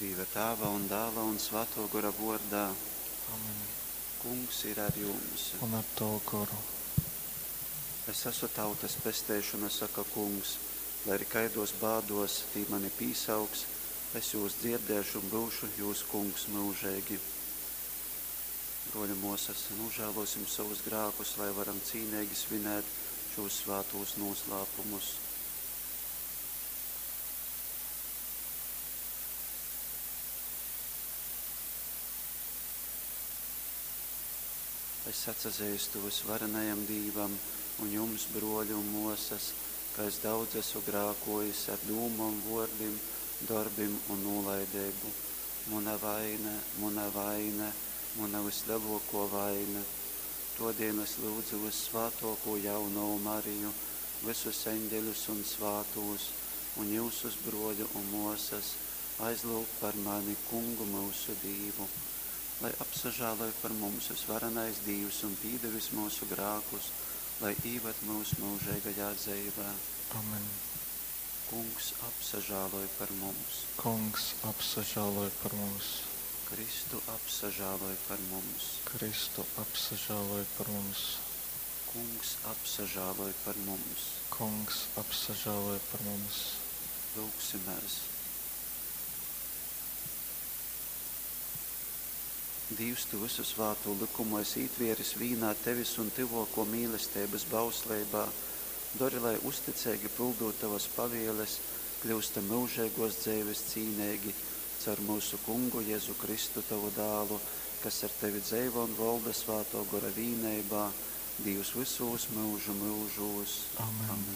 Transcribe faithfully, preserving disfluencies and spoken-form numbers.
Dīva Tāva un Dāla un Svātō Gora vōrdā. Amen. Kungs ir ar jums. Un ar tavu goru. Es esmu tautas pesteišona, saka Kungs, lai arī kaidos bādos tī mani pīsauks, es jūs dzirdēšu un būšu jūs kungs mūžīgi. Broļi, mosas, nožēlosim savus grēkus, lai varam cīnīgi svinēt šos svētos noslēpumus. Es atsazīstu visvarenajam Dīvam un jums, broļi un mosas, ka es daudz esmu grākojis ar dūmom, vōrdim, darbim un nolaideibu. Muna vaina, muna vaina, muna vislielāko vaina. Todien es lūdzu vissvētāko jauno Mariju, visus eņģeļus un svātos, un jūsus broļu un mosas, aizlūg par mani kungu mūsu Dīvu. Lai apsažāloj par mums visvarenais Dīvs un pīdevis mūsu grākus, lai īvad mūs mūžīgajā dzeivē. Amen. Kungs apsažāloj par mums. Kungs apsažāloj par mums. Kristu apsažāloj par mums. Kristu apsažāloj par mums. Kungs apsažāloj par mums. Kungs apsažāloj par mums. Lūgsimies. Dievs, tu visu svāto likumu esi ītvieris vīnā tevis un tyvoko mīlestības bausleibā, dori, lai uzticīgi pildot tavas pavieles, kļūstam mūžīgos dzīves cīnīgi, caur mūsu kungu Jēzu Kristu tavu dālu, kas ar tevi dzeivo un valda svāto gora vīneibā, Dievs visos mūžu mūžos. Amen. Amen.